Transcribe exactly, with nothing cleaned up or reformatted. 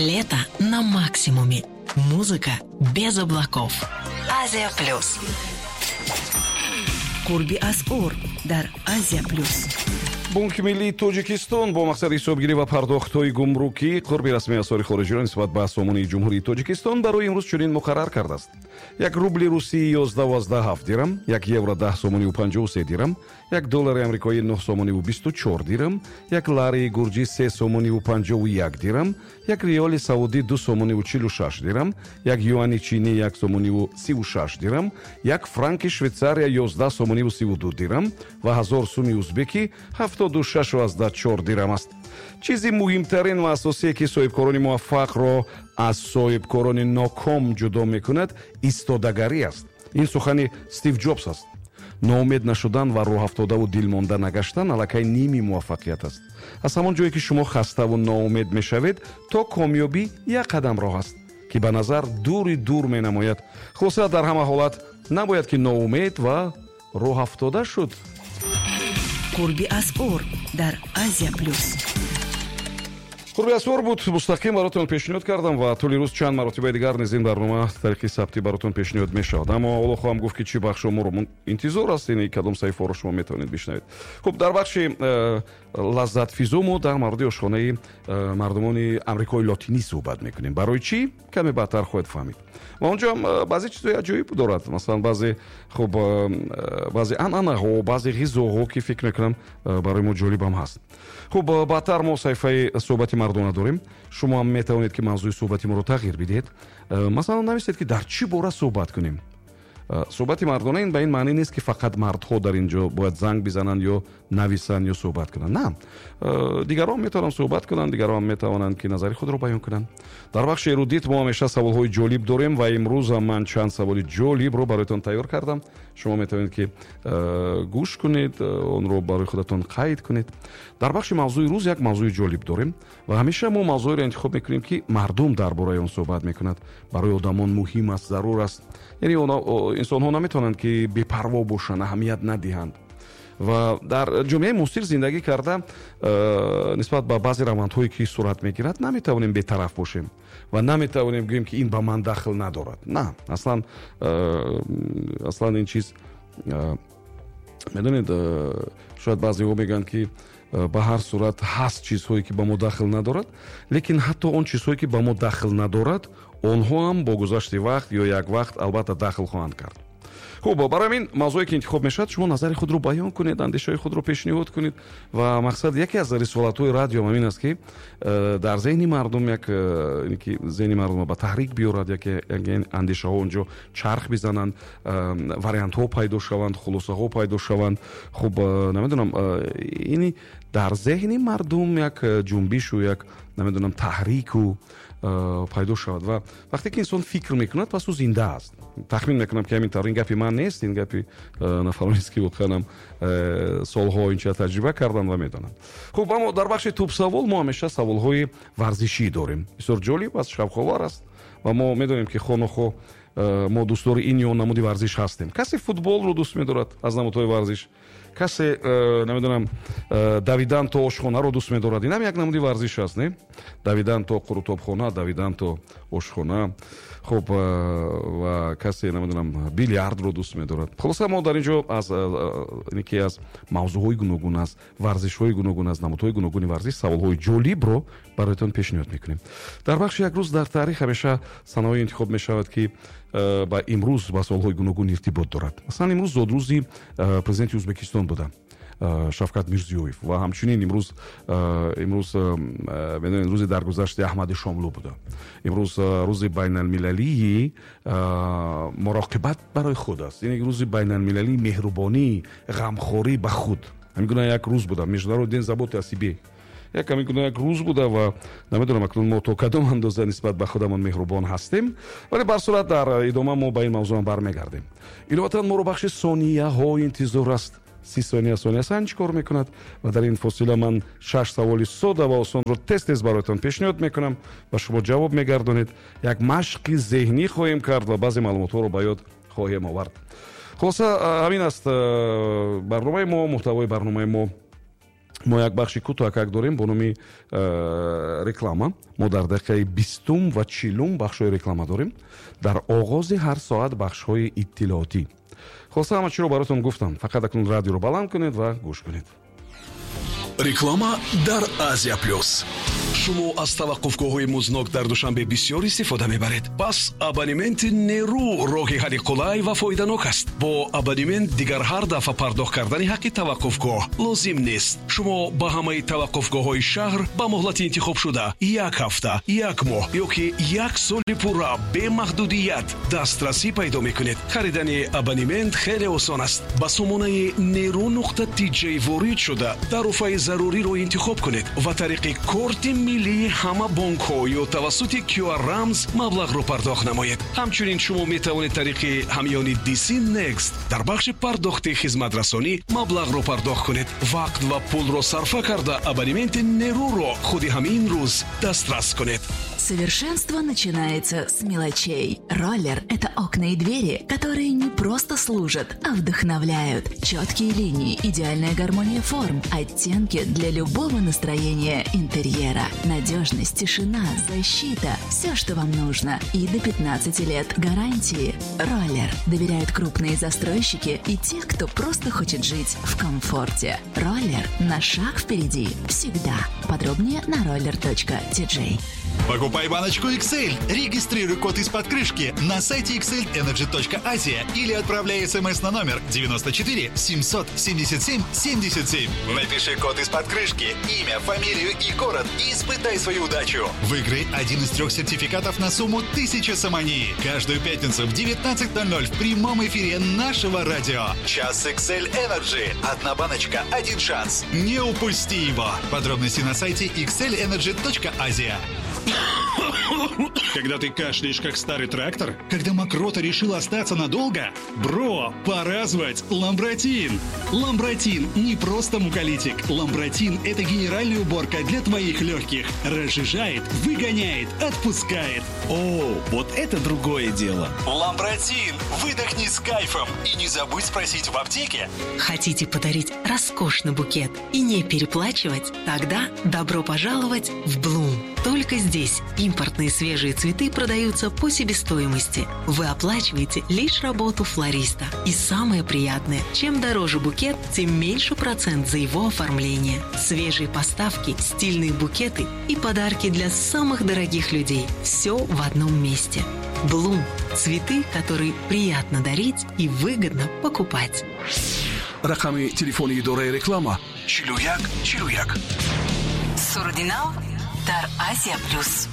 Лето на максимуме. Музыка без облаков. Азия Плюс. Қурби асъор дар Азия Плюс. Бонки миллии Тоҷикистон бо мақсади ҳисобгирӣ ва пардохтҳои гумрукӣ қурби расмии асъори хориҷиро нисбат ба сомонии Ҷумҳурии Тоҷикистон барои имрӯз чунин муқаррар кардааст: як рубли русӣ ёздаҳ ҳафт дирам, як евро даҳ сомониву панҷоҳу се дирам, як доллари амрикоӣ нӯҳ сомониву бисту чор дирам, як ларии гурҷӣ се сомониву панҷоҳу як дирам, як риёли саудӣ ду сомониву чилу шаш дирам, як юани чинӣ як сомониву сиву шаш дирам, як франки Швейтсария ёздаҳ сомониву сиву ду дирам ва ҳазор суми узбекӣ ҳафтоду шашу аздаҳ чор дирам аст. Чизи муҳимтарин ва асосие, ки соҳибкорони муваффақро аз соҳибкорони ноком ҷудо мекунад, истодагарӣ аст. Ин сухани Стив Ҷобс аст. Ноумед нашудан ва рӯҳафтодаву дилмонда нагаштан аллакай ними муваффақият аст. Аз ҳамон ҷое, ки шумо хаставу ноумед мешавед, то комёбӣ як қадам роҳ аст, ки ба назар дури дур менамояд. Хулоса, дар ҳама ҳолат набояд ки ноумед ва рӯҳафтода шуд. Қурби асъор дар Азия Плюс. Қурби асъор буд, мустақим баротон пешниҳод кардам ва тӯли рӯз чанд маротибаи дигар низ ин барнома тариқи сабтӣ баротон пешниҳод мешавад. Аммо ҳоло хоҳам гуфт, ки чӣ бахшо моро интизор аст, ин кадом саҳифаҳоро шумо метавонед бишнавед. Хуб, дар бахши э, лаззатфизо мо дар мавриди ошхонаи э, мардумони Амрикои Лотинӣ суҳбат мекунем. Барои чӣ, каме баъдтар хоҳед фаҳмид. Ва онҷо ҳам э, баъзе чизҳои аҷоиб дорад, масалан, баъзе, хуб, баъзе анъанаҳо, баъзе ғизоҳо, ки фикр мекунам, барои мо ҷолибам ҳаст. Хуб, баъдтар мо саҳифаи суҳбати мардона дорем. Шумо ҳам метавонед, ки мавзӯи суҳбати моро тағйир бидиҳед. Масалан, нависед, ки дар чӣ бора суҳбат кунем. Суҳбати мардона ин ба ин маънӣ нест, ки фақат мардҳо дар ин ҷо бояд занг бизананд ё нависанд ё суҳбат кунанд. На, дигарон метавонанд суҳбат кунанд, дигарон метавонанд, ки назари худро баён кунанд. Дар бахши эрудит мо ҳамеша саволҳои ҷолиб дорем ва имрӯзам ман чанд саволи ҷолибро бароятон тайёр кардам. Шумо метавонед, ки гӯш кунед, онро барои худатон қайд кунед. Дар бахши мавзӯи рӯз як мавзӯи ҷолиб дорем ва ҳамеша мо мавзӯеро интихоб мекунем, ки мардум дар бораи он суҳбат мекунад, барои одамон муҳим аст, зарур аст. Яъне инсонҳо наметавонанд, ки бепарво бошанд, аҳамият надиҳанд. Ва дар ҷомеаи муосир зиндагӣ карда, э, нисбат ба баъзе равандҳое, ки сурат мегирад, наметавонем бетараф бошем ва наметавонем гӯем, ки ин ба ман дахл надорад. На, аслан э, аслан ин чиз э, медонед, шояд баъзеҳо мегӯянд, ки ба ҳар сурат ҳаст чизҳое, ки ба мо дахл надорад, лекин ҳатто он чизҳое, ки ба мо дахл надорад, онҳо ҳам бо гузашти вақт ё як вақт албатта дахл хоҳанд кард. Хуб, барои ҳамин мавзӯе, ки интихоб мешавад, шумо назари худро баён кунед, андешаҳои худро пешниҳод кунед. Ва мақсад, яке аз рисолатҳои радио ҳамин аст, ки э, дар зеҳни мардум як э, ки зеҳни мардумро ба таҳрик биёрад, яке андешаҳо онҷо чарх бизананд, э, вариантҳо пайдо шаванд, хулосаҳо пайдо шаванд. Хуб, намедонам, ини дар зеҳни мардум як ҷунбишу як, намедонам, таҳрику пайдо шавад. Ва вақте ки инсон фикр мекунад, пас ӯ зинда аст. Тахмин мекунам, ки ҳамин тавр. Ин гапи ман нест, ин гапи нафаронест, ки воқеанам солҳо инча таҷриба карданд ва медонанд. Хуб, аммо дар бахши тӯбсавол мо ҳамеша саволҳои варзишӣ дорем. Бисёр ҷолиб аст, шавқовар аст ва мо медонем, ки хонохо мо дӯстдори ин ё намуди варзиш ҳастем. Касе футболро дӯст медорад аз намудҳои варзиш, касе, намедонам, давидан то ошхонаро дӯст медорад. Инам як намуди варзиш аст, не? Давидан то қурутобхона, давидан то ошхона. Хуб, ва касе, намедонам, билярдро дӯст медорад. Хулоса, мо дар ин ҷо аз ки аз мавзӯъҳои гуногун, аз варзишҳои гуногун, аз намудҳои гуногуни варзиш саволҳои ҷолибро бароятон пешниҳод мекунем. Дар бахши як рӯз дар таърих ҳамеша санаҳое интихоб мешавад, ки ба имрӯз, ба солҳои гуногун иртибот дорад. Масалан, имрӯз зодрӯзи президенти Ӯзбекистон буда, Шавкат Мирзиёев, ва ҳамчунин имрӯз имрӯз медонед, рӯзи даргузашти Аҳмади Шомлӯ буда. Имрӯз рӯзи байналмилалии муроқибат барои худ аст, яъне рӯзи байналмилалии меҳрубонӣ, ғамхорӣ ба худ. Ҳамин гуна як рӯз буда, Международный день заботы о себе, як ҳамин гуна як рӯз буда. Ва намедонам, акнун мо то кадом андоза нисбат ба худамон меҳрубон ҳастем, вале бар сурат дар идома мо ба ин мавзӯам бармегардем. Иловатан, моро бахши сонияҳо интизор аст. Си сония сониясанҷ кор мекунад ва дар ин фосила ман шаш саволи сода ва осонро тез тез бароятон пешниҳод мекунам ва шумо ҷавоб мегардонед. Як машқи зеҳнӣ хоҳем кард ва баъзе маълумотҳоро ба ёд хоҳем овард. Хулоса, ҳамин аст барномаи мо, муҳтавои барномаи мо. Мо як бахши кӯтоҳакак дорем бо номи э, реклама. Мо дар дақиқаи бистум ва чилум бахшҳои реклама дорем. Дар оғози ҳар соат бахшҳои иттилоотӣ. Хулоса, ҳама чиро баротон гуфтам. Фақат акнун радиоро баланд кунед ва гӯш кунед. Реклама дар Азия Плюс. Шумо аз таваққуфгоҳҳои музнок дар Душанбе бисёр истифода мебаред. Пас абонементи Нерӯ роҳи ҳалли қулай ва фоиданок аст. Бо абонемент дигар ҳар дафъа пардохт кардани ҳаққи таваққуфгоҳ лозим нест. Шумо ба ҳамаи таваққуфгоҳҳои шаҳр ба муҳлати интихобшуда як ҳафта, як моҳ ё ки як соли пурра бемаҳдудият дастрасӣ пайдо мекунед. Харидани абонемент хеле осон аст. Ба сомонаи нерӯ нуқта тж ворид шуда тарофаи заруриро интихоб кунед ва тариқи корти миллии ҳама бонкҳо ё тавассути Q R рамз маблағро пардохт намоед. Ҳамчунин шумо метавонед тариқи ҳамёни D C Next дар бахши пардохти хизматрасонӣ маблағро пардохт кунед. Вақт ва пулро сарфа карда абонементи Нерӯро худи ҳамин рӯз дастрас кунед. Совершенство начинается с мелочей. Роллер – это окна и двери, которые не просто служат, а вдохновляют. Четкие линии, идеальная гармония форм, оттенки для любого настроения интерьера. Надежность, тишина, защита – все, что вам нужно. И до пятнадцати лет гарантии. Роллер доверяют крупные застройщики и те, кто просто хочет жить в комфорте. Роллер на шаг впереди всегда. Подробнее на roller точка ти джей. Покупай баночку икс эль, регистрируй код из-под крышки на сайте икс эль энерджи точка азия или отправляй смс на номер девяносто четыре семьсот семьдесят семь семьдесят семь. Напиши код из-под крышки, имя, фамилию и город и испытай свою удачу. Выиграй один из трех сертификатов на сумму тысяча сомони. Каждую пятницу в девятнадцать ноль ноль в прямом эфире нашего радио. Час икс эль Energy. Одна баночка, один шанс. Не упусти его. Подробности на сайте икс эль энерджи точка азия. Когда ты кашляешь, как старый трактор? Когда мокрота решила остаться надолго? Бро, пора звать Ламбратин! Ламбратин не просто муколитик. Ламбратин – это генеральная уборка для твоих легких. Разжижает, выгоняет, отпускает. О, вот это другое дело. Ламбратин! Выдохни с кайфом и не забудь спросить в аптеке. Хотите подарить роскошный букет и не переплачивать? Тогда добро пожаловать в Блум. Только здесь импортные свежие цветы продаются по себестоимости. Вы оплачиваете лишь работу флориста. И самое приятное, чем дороже букет, тем меньше процент за его оформление. Свежие поставки, стильные букеты и подарки для самых дорогих людей. Все в одном месте. Блум. Цветы, которые приятно дарить и выгодно покупать. Рақами телефони идораи реклама чилу як чилу як. Сурудинав дар Азия Плюс.